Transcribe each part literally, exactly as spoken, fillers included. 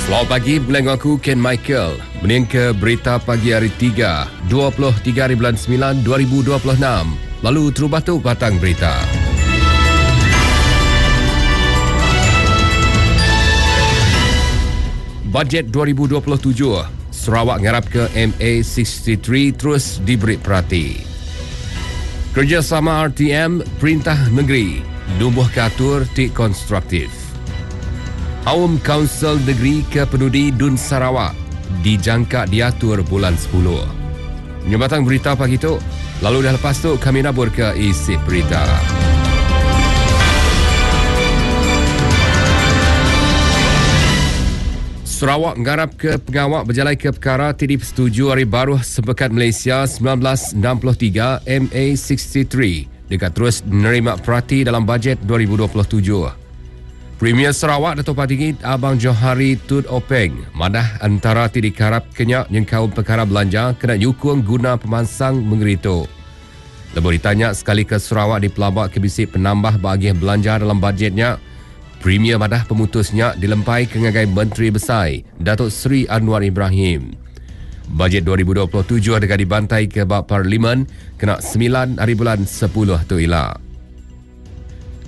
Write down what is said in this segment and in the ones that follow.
Selamat pagi, bulan aku Ken Michael. Mening ke berita pagi hari tiga, dua puluh tiga hari bulan sembilan dua ribu dua puluh enam. Lalu terubah tu batang berita. Bajet dua ribu dua puluh tujuh, Sarawak ngarap ke M A enam puluh tiga terus diberi perhati. Kerjasama R T M, Perintah Negeri, numbuh katur ti konstruktif. Aum Kaunsil Negeri ke Penudi Dun Sarawak dijangka diatur bulan sepuluh. Nyebatang berita pagi tu, lalu dah lepas tu kami nabur ke isi berita. Sarawak ngarap ke pengawak berjalan ke perkara ti dipersetujui hari baru Sepekat Malaysia sembilan belas enam puluh tiga M A enam puluh tiga dekat terus menerima perhati dalam bajet dua ribu dua puluh tujuh. Premier Sarawak Dato' Patinggi Abang Johari Tun Openg madah antara ti dikarap kenyak nyengkaum perkara belanja kena nyukung guna pemansang mengeri tu. Lebuh ditanya sekali ke Sarawak dipelabak ke bisi penambah bagi belanja dalam bajetnya, Premier madah pemutusnya dilempai ke ngagai Menteri Besar Datuk Seri Anwar Ibrahim. Bajet dua ribu dua puluh tujuh dekat dibantai ke bab Parlimen kena sembilan hari bulan sepuluh tu ila.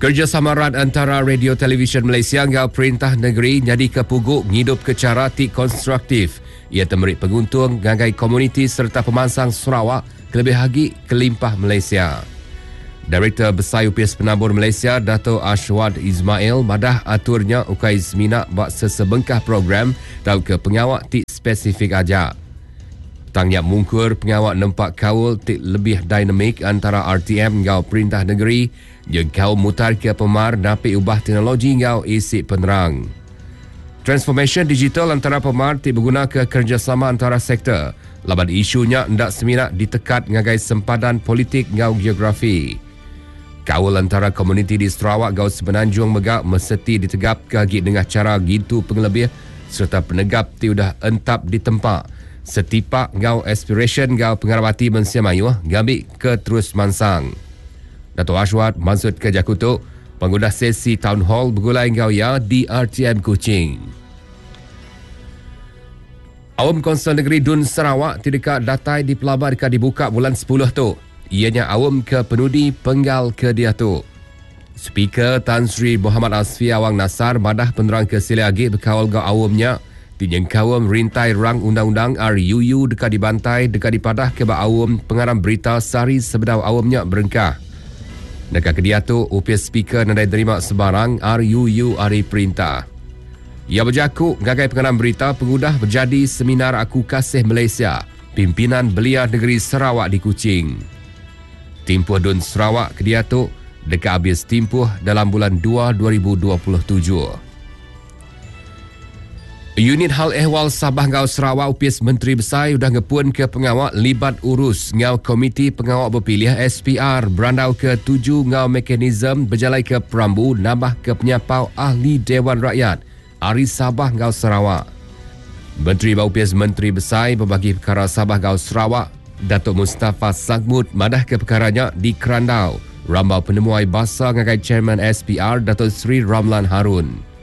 Kerjasama rat antara Radio Televisyen Malaysia ngau Perintah Negeri jadi kepuguk ngidup ke cara ti konstruktif. Ia temerik penguntung ngagai komuniti serta pemansang Sarawak kelebih lagi kelimpah Malaysia. Direktur Besar U P S Penabur Malaysia Dato' Ashwad Ismail madah aturnya ukai semina bak sesebengkah program tau ke pengawak ti spesifik aja. Tangnya mungkur pengawak nempak kaul ti lebih dinamik antara R T M ngau Perintah Negeri jeung kaum mutar ke pemar napi ubah teknologi ngau isi penerang. Transformation digital antara pemar ti berguna ke kerjasama antara sektor. Laban isunya ndak semina ditekat ngagai sempadan politik ngau geografi. Kaul antara komuniti di Sarawak gau Semenanjung megak meseti ditegap ke agi dengan cara gitu pengelebih serta penegap ti udah entap di tempat. Setipak gau aspiration gau pengarabati mensia mayuh ngambil ke terus mansang. Dato' Ashwad maksud ke Jakutuk pengguna sesi town hall bergulai gau ya di R T M Kuching. Awam Konsel Negeri Dun Sarawak tidak datai di pelabar dekat dibuka bulan sepuluh tu. Ianya awam ke penudi penggal ke dia tu. Speaker Tan Sri Muhammad Asfi Awang Nasar madah penerang ke sila agi berkawal gau awamnya dinyengkawam rintai rang undang-undang R U U dekat dibantai dekat dipadah ke ba awam pengarang berita sehari sebedau awamnya berengkah. Dekat ke dia tu, U P S Speaker nadai terima sebarang R U U ari perintah. Ia berjakuk gagai pengarang berita pengudah berjadi seminar Aku Kasih Malaysia, pimpinan Belia Negeri Sarawak di Kuching. Timpuh Dun Sarawak ke dia tu dekat habis timpuh dalam bulan dua dua ribu dua puluh tujuh. Unit Hal Ehwal Sabah Ngau Sarawak U P S Menteri Besar udah ngepun ke pengawak libat urus ngau Komiti Pengawak Berpilih S P R berandau ke tuju ngau mekanisme berjalai ke perambu nambah ke penyapau ahli Dewan Rakyat Ari Sabah Ngau Sarawak. Menteri U P S Menteri Besar berbagi perkara Sabah Ngau Sarawak Datuk Mustafa Sakmut madah ke perkaranya di Kerandau. Rambau penemuai basa ngagai Chairman S P R Datuk Seri Ramlan Harun.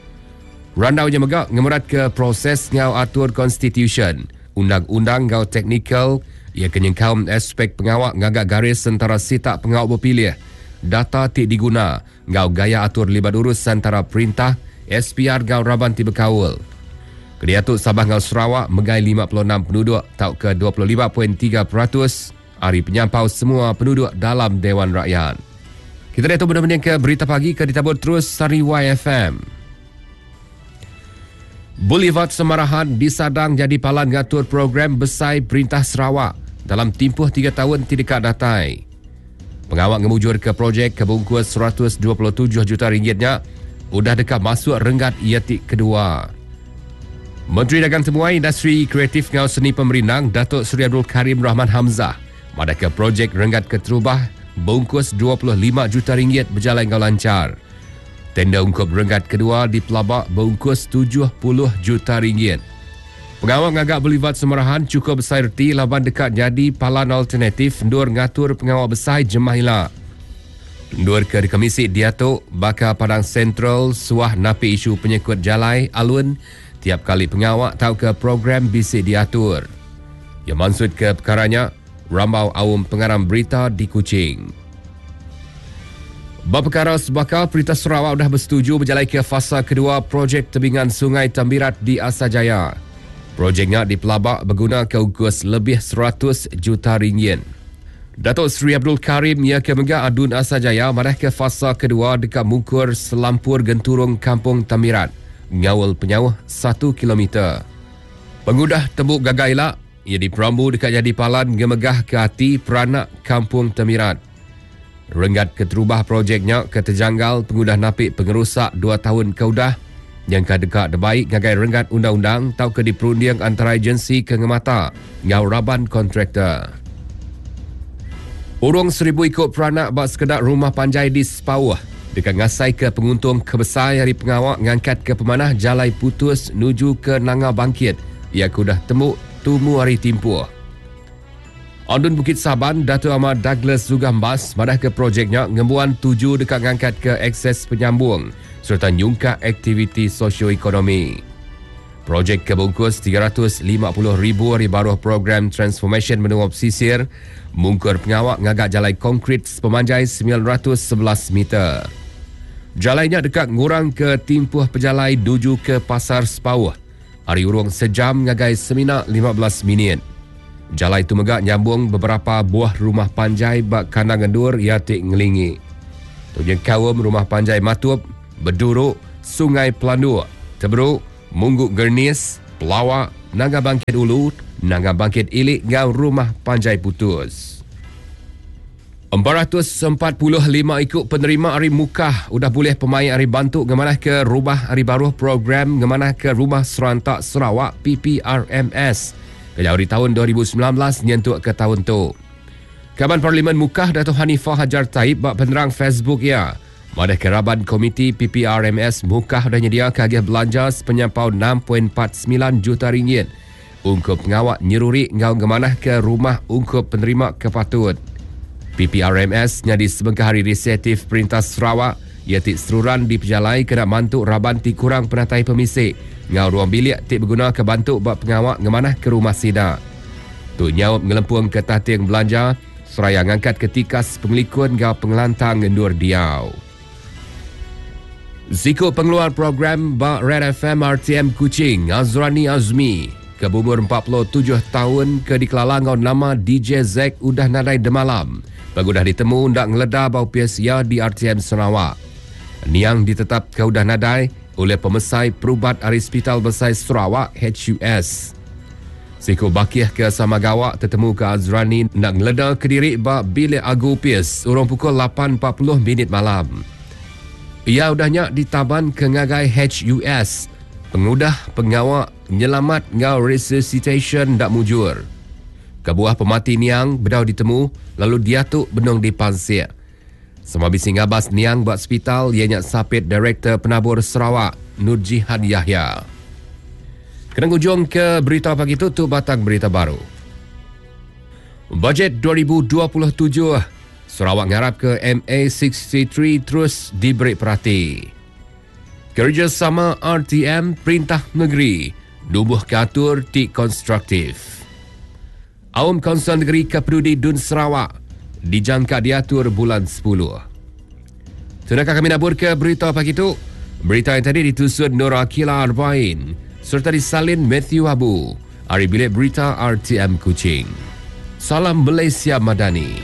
Randaunya megak ngemerat ke proses ngau atur konstitution, undang-undang ngau teknikal, ia kenyengkaum aspek pengawak ngagak garis antara sitak pengawak berpilih, data ti diguna, ngau gaya atur libat urus antara perintah, S P R ngau raban ti berkaul. Kediatuk Sabah ngau Sarawak megai lima puluh enam penduduk tau ke dua puluh lima perpuluhan tiga peratus hari penyampau semua penduduk dalam Dewan Rakyat. Kita dah tu benda-benda ke berita pagi ke ditabur terus Sari Y F M. Boulevard Semarahan disadang jadi palan ngatur program besar Perintah Sarawak dalam tempoh tiga tahun tidak datai. Pengawak ngemujur ke projek kebungkus seratus dua puluh tujuh juta ringgitnya udah dekat masuk renggat iatik kedua. Menteri Dagang Temuai Industri Kreatif Ngau Seni Pemerintah Datuk Seri Abdul Karim Rahman Hamzah madah ke projek renggat keterubah bungkus dua puluh lima juta ringgit berjalan ngau lancar. Tenda ungkup renggat kedua di Pelabak bungkus tujuh puluh juta ringgit. Pengawal ngagak Boulevard Semarahan cukup besar erti laban dekat jadi palan alternatif ndur ngatur pengawal besar jemah ila. Ndur ke Komisi Diatok bakal Padang Sentral suah napi isu penyekut jalai alun Tiap kali pengawak tau ke program bisi diatur. Yang maksud ke perkaranya, Rambau Awam Pengarang Berita di Kuching. Bab perkara sebakal, Perintah Sarawak sudah bersetuju berjalan ke fasa kedua projek tebingan Sungai Tambirat di Asajaya. Projeknya dipelabak berguna ke ukus lebih seratus juta ringgit. Datuk Seri Abdul Karim ia ke Mega Adun Asajaya marah ke fasa kedua dekat mungkur selampur genturung Kampung Tambirat. Ngawal penyauh satu kilometer. Pengudah tembuk gagaila, ia diperambu dekat jadi palan ngemegah ke hati peranak Kampung Temirat. Renggat keterubah projeknya ke terjanggal pengudah napik pengerusak dua tahun keudah yang dekat debaik gagai renggat undang-undang tau ke diperunding antara agensi kengemata ngau raban kontraktor. Urung seribu ikut peranak bak sekedak rumah panjai di Sepauh dekat ngasai ke penguntung kebesar hari pengawak ngangkat ke pemanah jalai putus nuju ke Nanga Bangkit ia kudah temuk tumu hari timpuh. Andun Bukit Saban, Dato' Ahmad Douglas Zugambas madah ke projeknya ngembuan tuju dekat ngangkat ke akses penyambung serta nyungkak aktiviti sosioekonomi. Projek kebungkus tiga ratus lima puluh ribu hari baruh program Transformation Menua Pesisir mungkur pengawak ngagak jalai konkrit sepemanjai sembilan ratus sebelas meter. Jalainya dekat ngurang ke timpuh pejalai nuju ke Pasar Sepauh. Hari urung sejam ngagai semina lima belas minit. Jalai itu megak nyambung beberapa buah rumah panjai bak kandang ngendur ia tik ngelingi. Tujuan kaum rumah panjai Matup, Beduruk, Sungai Pelanduk, Teberuk, Mungguk Gernis, Pelawak, Nanga Bangkit Ulu, Nanga Bangkit Ilik ngau rumah panjai putus. empat ratus empat puluh lima ikut penerima hari Mukah udah boleh pemain hari bantu ngemanah ke rumah hari baru program ngemanah ke Rumah Serantak Sarawak P P R M S. Kejauh di tahun dua ribu sembilan belas nyentuk ke tahun tu. Kaban Parlimen Mukah Dato' Hanifah Hajar Taib bak penerang Facebook ya. Madah keraban Komiti P P R M S Mukah dah nyedia kagih belanja sepenyampau enam perpuluhan empat sembilan juta ringgit ungkup pengawak nyeruri ngau ngemanah ke rumah ungkup penerima kepatut. P P R M S nyadi sebengkah hari inisiatif Perintah Sarawak ia tik seruran di pejalai kena mantuk raban ti kurang penatai pemisik ngau ruang bilik tik berguna ke bantu bak pengawak ngemanah ke rumah sida. Tu nyaup ngelempung ke tating belanja seraya ngangkat ketikas pengelikun ngau pengelantang ngendur diau. Ziko pengeluar program bak Red F M R T M Kuching Azrani Azmi ke umur empat puluh tujuh tahun ke dikelala ngau nama D J Zack udah nadai demalam. Bagudah ditemu ndak ngeleda bau pia di R T M Sarawak. Niang ditetap ke udah nadai oleh pemesai perubat ari Hospital Besar Sarawak H U S. Siko bakih ke Samagawak tetemu ke Azrani nak ngeleda kediri ba bilik agu pies urung pukul lapan empat puluh minit malam. Ia udahnya ditaban ke ngagai H U S. Pengudah pengawak nyelamat ngau resuscitation ndak mujur. Kebuah pemati niang bedau ditemu lalu diatuk benung dipansik. Sama bisi ngabas niang buat hospital ianya sapit Direktur Penabur Sarawak Nur Jihan Yahya. Kena ujung ke berita pagi tu, tu batang berita baru. Bajet dua ribu dua puluh tujuh Sarawak ngarap ke M A enam puluh tiga terus diberi perhati. Kerjasama R T M Perintah Negeri nubuh katur ti konstruktif. Awam Kaunsil Negeri Kepedudi Dun Sarawak dijangka diatur bulan sepuluh. Tunakah kami nabur ke berita pagi tu? Berita yang tadi ditusun Nur Akila Arbain serta disalin Matthew Abu. Ari Bilik Berita R T M Kuching. Salam Malaysia Madani.